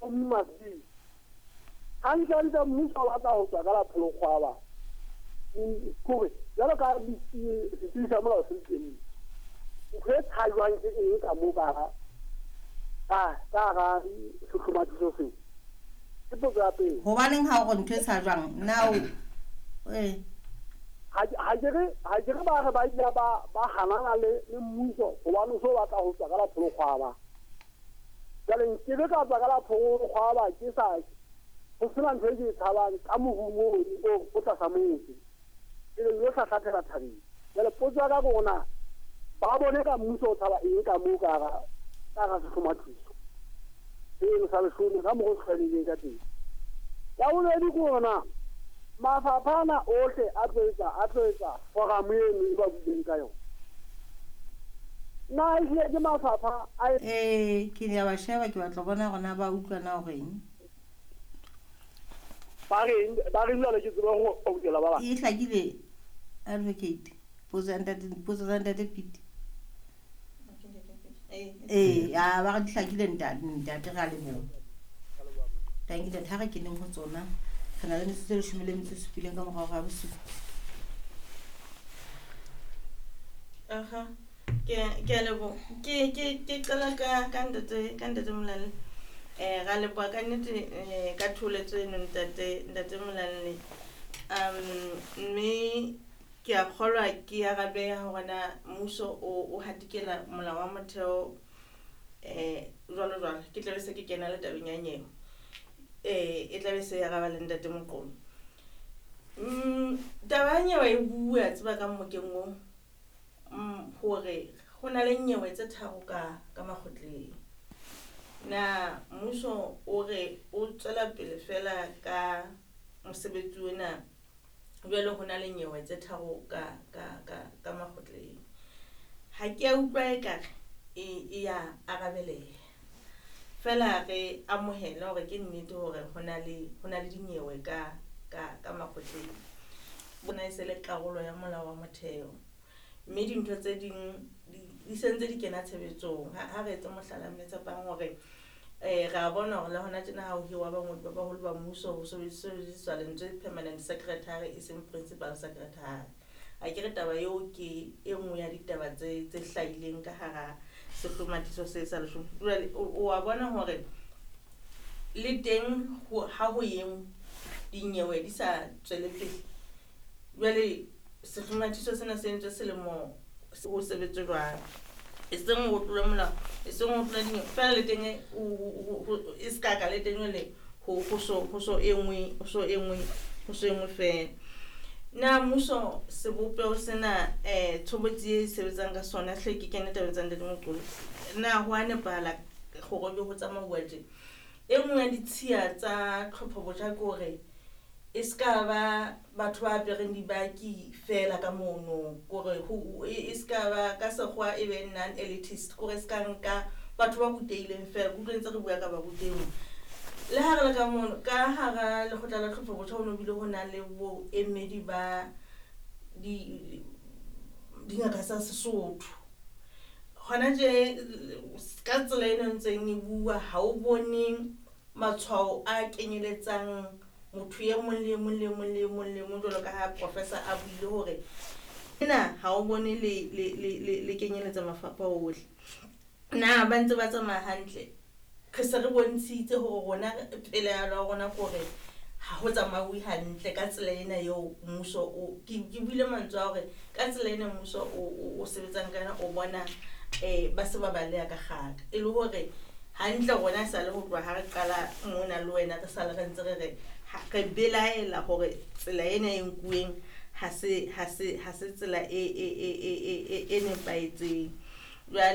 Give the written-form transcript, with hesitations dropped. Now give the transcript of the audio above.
Must be. Hantlentle mmuso o batla ho tswa ka la pholokgwaba. Kore jwalo ka setsebi sa molao se le teng, ntho e tshajwang ke eng ka moo ka hara sehlomathiso seo? Ke potso ya pele. Hobaneng ha o re ntho e tshajwang? Na o ee. Ha ke re ba re ba ile ba hanana le mmuso hobane o so batla ho tswa ka la pholokgwaba. Jwale nkebe ka tswa ka la pholokgwaba ke sa ho sena ntho e ke e tshabang ka morung o o tlasa motse. Ke le yo hlahlathela thabeng. Jwale potso ya ka ke hore na ba bone ka mmuso o tshaba eng ka moo ka hara sehlomathiso seno sa leshome ka mokgwa o tlwaelehileng ka teng. Ya bobedi ke hore na mafapha ana ohle a tlo etsa forum eno e ba buileng ka yona. Na ehlile ke mafapha a Ee, ke ya ba sheba, ke batla ho bona hore na ba utlwa na hore eng. Ba reng jwale ke tsebe ho okela ba bang. E hlakile advocate potso ya ntate, potso tsa ntate Pete. Ee, a ba re di hlakile ntate re a leboha. Thank you ntate, ha re keneng ho tsona. Re na le metsotso e 17 ka morao ga bosupa. Aha. Ke a leboha. Ke qala ka ntate Molalle. Ra leboha ka nnete ka tholetso eno ntate Molalle. Mme ke a kgolwa ke arabeha hore na mmuso o hatikela molao wa motheo jwalo jwalo. Ke tlabe se ke kena le tabeng ya nyewe. E tlabe se araba le ntate Moqolo. Taba ya nyewe e bua tseba ka mmokeng o hore ho na le nyewe tse tharo ka makgotleng. Na mmuso o re o tswela pele fela ka mosebetsi ona jwale ho na le nyewe tse tharo ka makgotleng. Ha ke a utlwa ekare e ya arabeleha. Fela re amohele hore ke nnete hore ho na le dinyewe ka makgotleng. Bona e se le karolo ya molao wa motheo. Mme dintho tse ding di sentse di kena tshebetsong. Ha re etse mohlala mme Tshepang hore re a bona hore le hona tjena ha ho hirwa bangodi ba baholo ba mmuso ho sebediswa lentswe permanent secretary e seng principal secretary. A ke re taba eo ke e nngwe ya ditaba tse hlahileng ka hara sehlomathiso se sa leshome. Jwale o a bona hore le teng ha ho eng dinyewe di sa tswele pele. Jwale sehlomathiso sena se entswe selemo ho sebetswe jwang. E seng ho tlola molao, e seng ho tlola dinyewe. Fela le teng e se ka ka le teng jwale ho so e nngwe fela. Na mmuso sebopeho sena tshobotsi e sebetsang ka sona hle ke kene tabeng tsa ntate Moqolo. Na ho a nepahala hore ho tsamauwa tje? E nngwe ya ditshiya tsa tlhopho botjha ke hore e ska ba batho ba apereng dibaki fela ka mono, kore e ska ba ka sekgowa e be non-elitist, kore e ska nka batho ba rutehileng fela. Ke utlwe ntse re bua ka barutehi. Le ha re le ka mono, ka hara lekgotla la tlhopho botjha ho no bile ho na le boemedi ba dingaka tsa Sesotho. Hona tje ka tsela eno ntseng e bua ha o bone matshwao a kenyeletsang motho e mong le mong le mong le mong le mong jwalo ka ha professor a buile hore ena ha o bone le kenyeletsa mafapha ohle. Na ba ntse ba tsamaya hantle? Re se re bontshitse hore rona pele ya rona hore ha ho tsamauwe hantle ka tsela ena eo mmuso o ke buile mantswe a hore ka tsela ena mmuso o sebetsang ka yona o bona ba se ba baleha ka kgaka. E le hore hantle rona sa le ho tloha ha re qala mona le wena re sale re ntse re re re belaela hore tsela ena e nkuweng ha se tsela e nepahetseng. Jwale